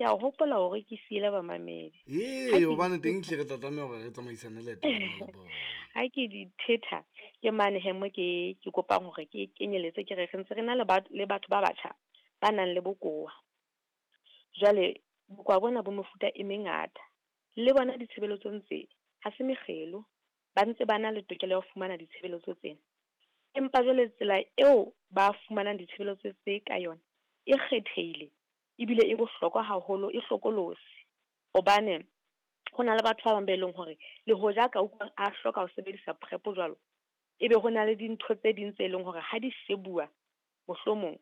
Ke a hopola hore ke siele bamamedi. Ee, hobane teng hle re tla tlameha hore re tsamaisane leeto le bona. Ha ke di thetha ke mane he mo ke kopang hore ke kenyeletse ke re re ntse re na le batho ba batjha ba nang le bokowa. Jwale bokowa bona bo mefuta e mengata. Le bona ditshebeletsong tse ha se mekgelo, ba ntse ba na le tokelo ya ho fumana ditshebeletso tsena. Empa jwale tsela eo ba fumanang ditshebeletso tse ka yona e kgethehile ebile e bohlokwa haholo, e hlokolosi. Hobane ho na le batho ba bang be leng hore le hoja ka utlwa a hloka ho sebedisa PrEP jwalo, ebe ho na le dintho tse ding tse leng hore ha di shebuwa mohlomong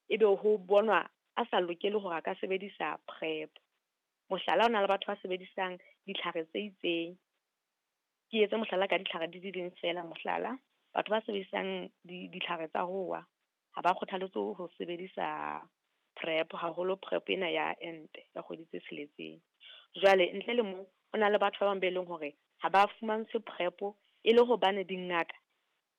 ebe ho bonwa a sa lokele hore a ka sebedisa PrEP. Mohlala, ho na le batho ba sebedisang ditlhare tse itseng. Ke etse mohlala ka ditlhare di le ding feela. Mohlala, batho ba sebedisang ditlhare tsa ho wa ha ba kgothaletswe ho sebedisa PrEP, haholo PrEP ena ya ente ya kgwedi tse tsheletseng. Jwale ntle le moo, ho na le batho ba bang be leng hore ha ba fumantshwe PrEP e le hobane dingaka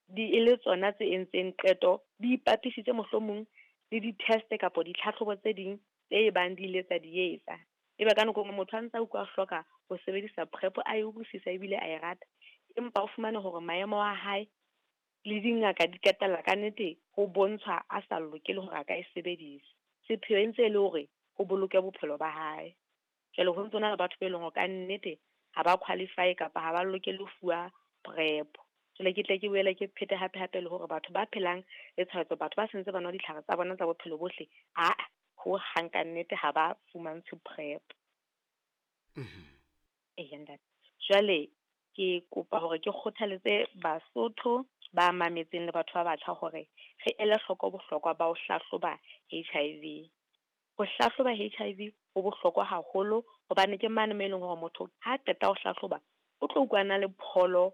di e le tsona tse entseng qeto, di ipapisitse mohlomong le di-test kapa ditlhatlhobo tse ding tse bang di ile tsa di etsa. Ebe ka nako e nngwe motho a ntsa utlwa a hloka ho sebedisa PrEP, a e utlwisisa ebile a e rata, empa o fumane hore maemo a hae le dingaka di qetella ka nnete ho bontshwa a sa lokele hore a ka e sebedisa. Sepheo e ntse e le hore ho boloke bophelo ba hae. Jwale ho ntso na le batho be leng hore ka nnete ha ba qualify kapa ha ba lokele ho fuwa PrEP. Jwale ke tle ke boele ke phete hape hape le hore batho ba phelang le tshwaetso, batho ba sentse ba nwa ditlhare tsa bona tsa bophelo bohle, aa ho hang ka nnete ha ba fumantshwe PrEP. Eya ntate. Jwale ke kopa hore ke kgothaletse Basotho ba mametseng le batho ba batjha hore re ele hloko bohlokwa ba ho hlahloba HIV. Ho hlahloba HIV ho bohlokwa haholo hobane ke mane mo e leng hore motho ha qeta ho hlahloba o tlo utlwa na le pholo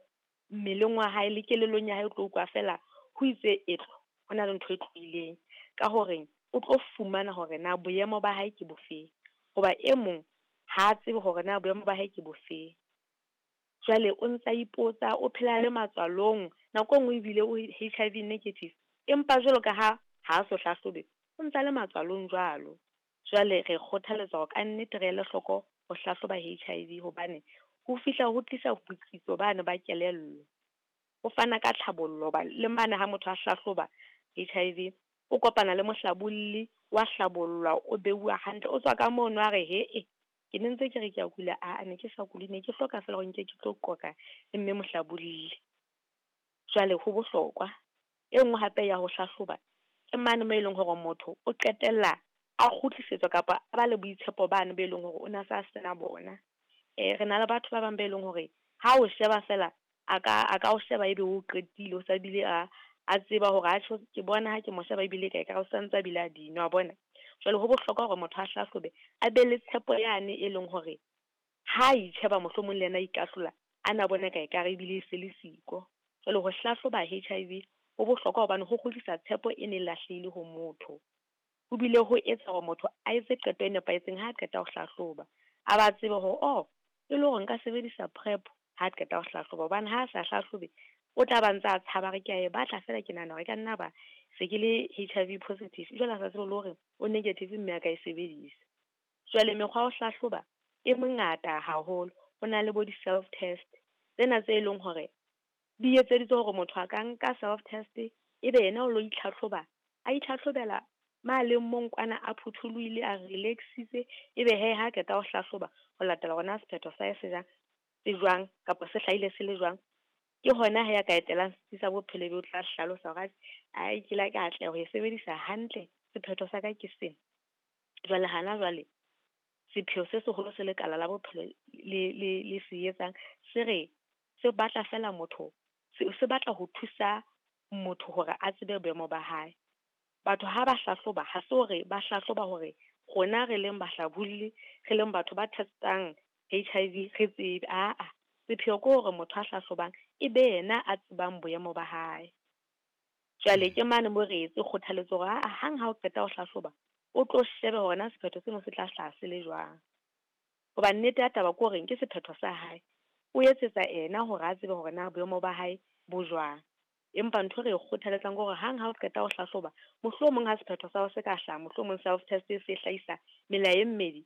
mmeleng wa hae le kelellong ya hae, o tlo utlwa feela ho itse etlo, ho na le ntho e tlohileng. Ka hore o tlo fumana hore na boemo ba hae ke bofeng, hoba e mong ha tsebe hore na boemo ba hae ke bofeng. Jwale o ntsa ipotsa, o phela le matswalong, nako e nngwe ebile o HIV negative, empa jwalo ka ha ha so hlahlobe, o ntsa le matswalong jwalo. Jwale re kgothaletsa hore ka nnete re ele hloko ho hlahloba HIV hobane ho fihla ho tlisa botsitso bane ba kelello. Ho fana ka tlhabollo hoba le mane ha motho a hlahloba HIV, o kopana le mohlabolli, wa hlabollwa, o beuwa hantle, o tswa ka mono a re he-e, ke ne ntse ke re ke a kula, aa ne ke sa kule, ne ke hloka feela hore nke ke tlo qoqa le mme mohlabolli. Jwale ho bohlokwa. E nngwe hape ya ho hlahloba ke mane mo e leng hore motho o qetella a kgutlisetswa kapa a ba le boitshepo bane be leng hore o na sa sena bona. Re na le batho ba bang be leng hore ha o sheba feela a ka o sheba ebe o qetile, o sa bile a tseba hore a tjho, ke bona ha ke mo sheba ebile ka ekare o santse a bile a di nwa, wa bona. Jwale ho bohlokwa hore motho a hlahlobe, a be le tshepo yane e leng hore ha itjheba mohlomong le yena a ikahlola, a na bone ka ekare ebile e se le siko. Jwale ho hlahloba HIV ho bohlokwa hobane ho kgutlisa tshepo e ne lahlehile ho motho. Ho bile ho etsa hore motho a etse qeto e nepahetseng ha qeta ho hlahloba. A ba tsebe hore, oh, e le hore nka sebedisa PrEP ha qeta ho hlahloba, hobane ha a sa hlahlobe o tla ba ntsa tshaba re ke a e batla feela, ke nahana hore e ka nna ba se ke le HIV positive, jwale a sa tsebe le hore o negative mme a ka e sebedisa. Jwale mekgwa ya ho hlahloba e mengata haholo. Ho na le bo di-self test tsena tse leng hore di etseditswe hore motho a ka nka self test ebe yena o lo itlhatlhoba, a itlhatlhobela ma leng mong kwana a phuthulohile, a relaxitse, ebe he ha qeta ho hlahloba ho latela hore na sephetho sa hae se jwang, se jwang kapa se hlahile se le jwang. Ke hona he a ka etelang setsi sa bophelo ebe o tla hlalosa hore ai ke la ka atleha ho e sebedisa hantle, sephetho sa ka ke sena. Jwale hana jwale sepheo se seholo se lekala la bophelo le se etsang, se re se batla feela motho, se batla ho thusa motho hore a tsebe boemo ba hae. Batho ha ba hlahloba, ha se hore ba hlahloba hore rona re leng bahlabolli, re leng batho ba testang HIV re tsebe, aa, sepheo ke hore motho a hlahlobang e be yena a tsebang boemo ba hae. Jwale ke mane mo re etse kgothaletso hore aa, hang ha o qeta ho hlahloba, o tlo shebe hore na sephetho seno se tla hlaha se le jwang. Hoba nnete ya taba ke hore ke sephetho sa hae, o etsetsa ena hore a tsebe hore na boemo ba hae bo jwang. Empa ntho re e kgothaletsang ke hore hang ha o qeta ho hlahloba, mohlomong ha sephetho sa hao se ka hlaha, mohlomong self test e se hlahisa mela e mmedi,